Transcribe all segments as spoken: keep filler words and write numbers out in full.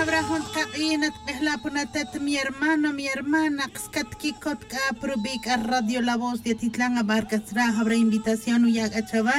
Abra jun taq'aq'in atk'ejla' puna atet mi hermano mi hermana qskat kikot k'a prubi' k'a radio la voz de atitlan abar k'a tzra' abra invitación uya' k'a chawa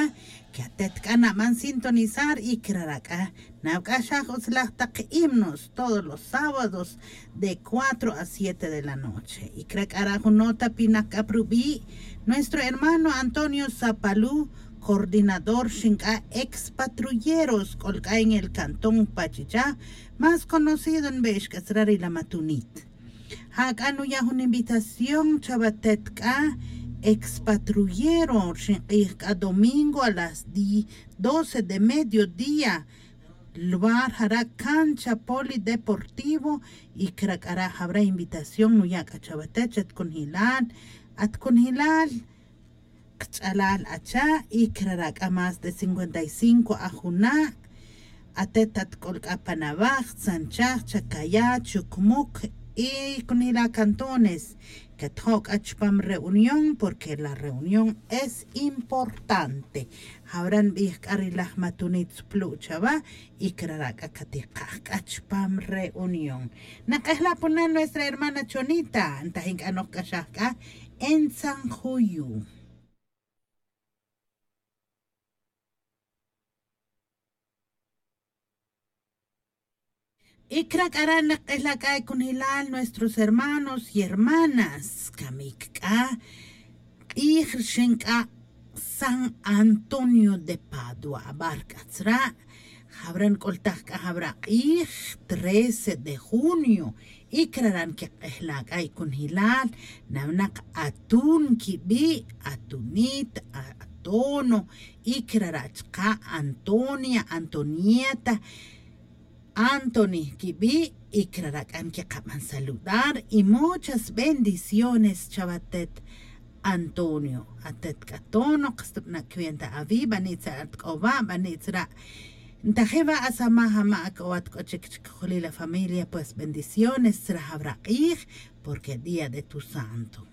que atet k'a naban sintonizar y krara' k'a nawk'axaj utzlaj taq himnos todos los sábados de cuatro a siete de la noche. Y kra' k'a ra' jun nota pinak k'a prubi' nuestro hermano Antonio Zapalú, coordinador xin k'a ex patrulleros k'ol k'a en el cantón Pachichá, más conocido nbe'ex k'a tzra' ri la Matunit. Ja k'a nuya' jun invitación chawa atet k'a ex patrullero rixin q'ij k'a domingo a las di doce de mediodía. Lugar jara' cancha polideportivo. Y kra' k'a ra' jawra' invitación nuya' k'a chawa atet chat kunjilal at kunjilal kch'alal acha'. Y kra' ra' k'a más de cincuenta y cinco ajuna'. Atet atk'ol k'a panawaj tzanchaj chacayá chucmuc y kunjila' cantones. Katjo' k'a chupam reunión porque la reunión es importante. Jawra' nbij k'a ri laj matunit tzuplu' chawa y kra' ra' k'a katikaj k'a chupam reunión. Nak'ejla' puna nuestra hermana chonita ntajin k'a nojk'axaj k'a en tzanjuyu. Y kra' k'a ra' nak'ejla' k'a kunjilal nuestros hermanos y hermanas kamik k'a q'ij rixin k'a san antonio de padua abar k'a tzra'. Jawra' nk'oltaj k'a jawra' q'ij trece de junio. Y kra' ra' nkik'ejla' k'a kunjilal nawnak atun kibi' atunit atono. Y kra' ra' chaqa' antonia antonieta antoni kibi'. Y kra' ra' k'a nkiqaban saludar y muchas bendiciones chawa atet antonio atet k'a tono qas tubana' cuenta awi' bani' tzra' atk'o wa' bani' tzra'. Ntaji' wa' asamaj ama' ak'o wa' atk'o chik chik juli la familia pues bendiciones tzra' jawra' q'ij porque día de tu santo.